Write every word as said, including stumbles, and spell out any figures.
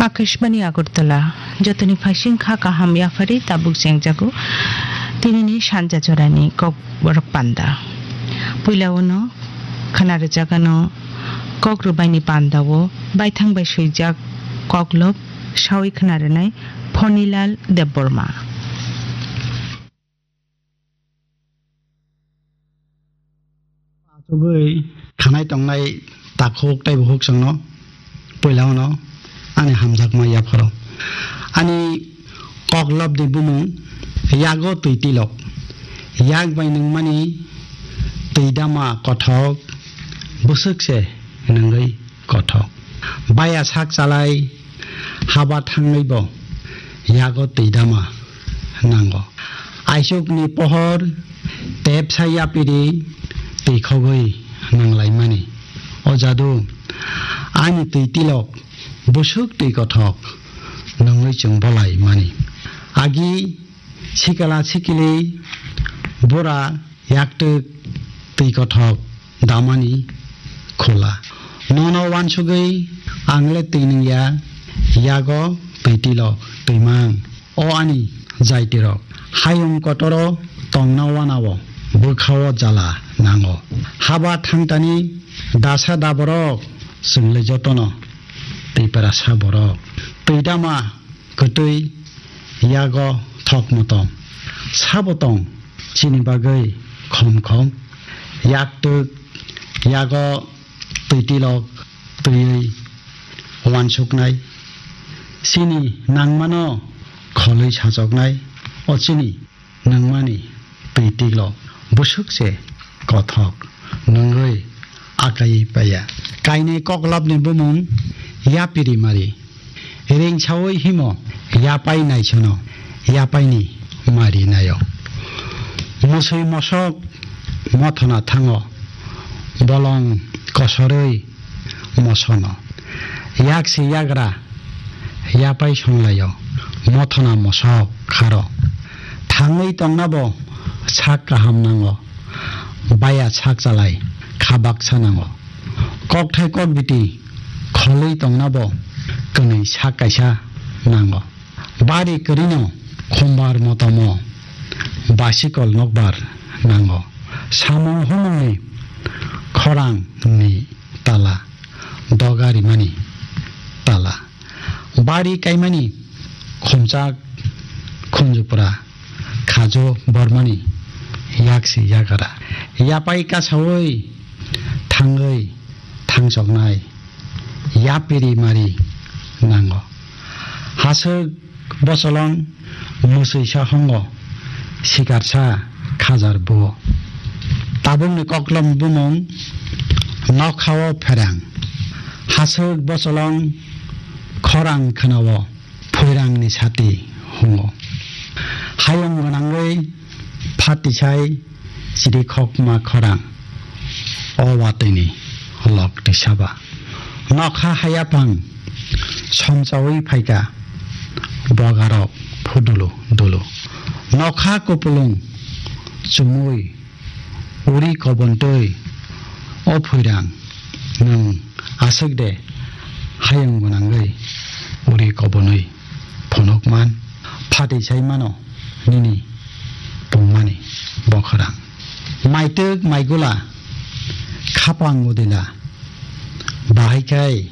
Akashbani Agartala, jotoni phaising kha kaham yaphari tabuk chengjago tinini sanja jorani kok borok panda. Puila uno khna rwjagano kok rwbaini pandao baithang bai swijak koklop sawi khna rwnai Phonilal Debbarma. Achugwi khanai tongnai takhuk tei bukhuk chwngno puila uno ani hamjakma yapharo. Ani koklopni bumung yago twi tilok. Yak bai nungmani twi dama kothok bwswk se nungwi kothok. Baya sak chalai haba thangwi bo yago twi dama nango. Aisukni pohor tepsa yapiri twi khogwi nanglaimani. O jadu ani twi tilok bwswk twi kothok nungwi chwng bolaimani. Agi sikala sikili bura yaktwk twi kothok damani khula. Nono wansugwi ang le twi nungya, yago twi tilok twi mang. O ani jaitirok, hayung kotoro tongna wanao bwkhao jala nango. Haba thangtani dasa daborok chwng le jotono twiprasa borok. Twi dama kwtwi yago thok motom. Sabo tong chini bagwi khom khom. Yaktwk yago twi tilok twiwi wansuknai. Chini nangmano kholwi sachoknai. O chini nangmani twi tilo bwswk se kothok nungwi akai paiya. Kainwi koklopni bumung yapiri mari. Ringsaui himo yapai naisono yapaini mari naio. Musui mosok mothona thango bolong kosorwi mosono. Yaksi yagra yapai songlaio, mothona mosok kharo. Thangwi tongnabo sak kaham nango, baya sak chalai kha baksa nango. Kokthai kokbiti kholwi tongnabo kwnwi sak kaisa nango. Bari kwrwino khumbar motomo basikol nokbar nango. Samung humungni khorangni tala, doga rimani tala, bari kaimani khumchak khunjupra khajo bormani yaksi yagra yapai kasaui thangwi thangchoknai yapiri mari nango. Haswk bosolong mwswisa hongo, sikarsa khajar buo. Tabukni koklom bumung nokhao pherang. Haswk bosolong khorang khwnao, phoirangni sati hungo. Hayung gwnangwi phatisai chirikhokma khorang, o watwini lok tisaba. Nokha hayaphang somchaui phaika, bogarok phudulu dulu. Nokha kupulung chumui uri kobontwi, o phoirang nwng aswk de hayung gwnangwi uri kobonwi phunukman, phatisai mano nini pungmani bokhorang. Maitwk maigula khapang udila, bahai khai